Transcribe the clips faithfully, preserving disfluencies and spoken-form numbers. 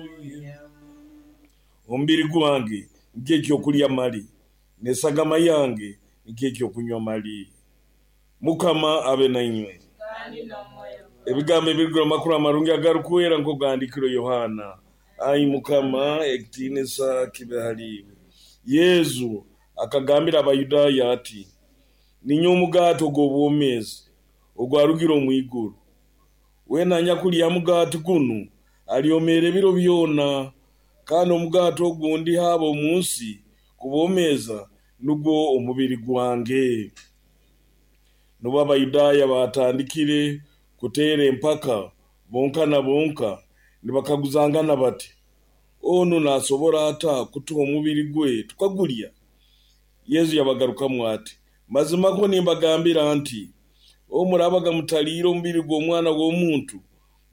Haleluya. Omubiri gwange nikyo ekyokulya mali, n'esagama yange nikyo ekyokunywa mali. Mukama abe nainywe. Kandi n'omwoyo gwawe. Ebigambo ebirugire omu makuru amarungi agarukwera nk'oku gahandiikirwe Yohaana. Ai Mukama, ekitiinisa kibe hali iwe. Yesu akagambira Abayudaaya ati, ninyowe omugaati ogw'obwomeezi ogwarugire omu iguru. Weena anyakulya ha mugaati gunu alyomeera ebiro byona, kandi omugaati ogu ndiha ab'omu nsi kubomeeza nugwo omubiri gwange. Nubwo Abayudaaya baatandikire kuteera empaka bonka na bonka nibakaguzangana bati, onu naasobora ata kutuha omubiri gwe tukagulya? Yesu yabagarukamu ati, mazimakwo nimbagambira nti, obu muraabaga mutaliire omubiri gw'Omwana w'omuntu,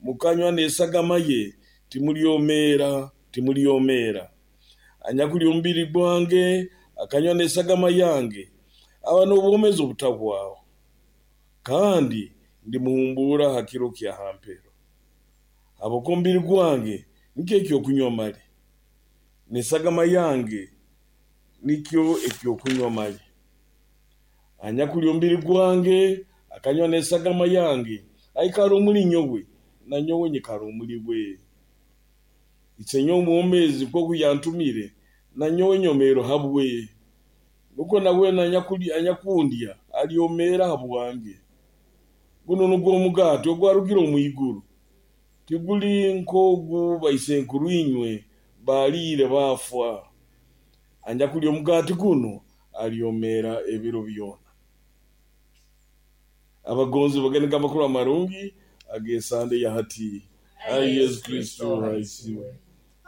mukanywa n'esagama ye, timulyomeera, timulyomeera. Anyakulya omubiri gwange, akanywa n'esagama yange, aba n'obwomeezi obutahwaho, kandi ndimuhumbuura ha kiro kya ha mpero. Habwokuba omubiri gwange nikyo ekyokunywa mali, n'esagama yange nikyo ekyokunywa mali. Anyakulya omubiri gwange, akanywa n'esagama yange, aikara omuli nyowe, na nyowe nyikara omuli we. Isenyowe omwomeezi nkooku yantumire, na nyowe nyomeera habwe. Nukwo na weena anyakundya alyomeera habwange. Gunu nugwo omugaati ogwarugire omu iguru, tiguli nk'ogu baisenkuru inywe baaliire baafa. Anyakulya omugaati gunu alyomeera ebiro byona. Abagonzi bagende amakuru amarungi ag'esande ya hati. Ai Yesu Kristo haisiwe.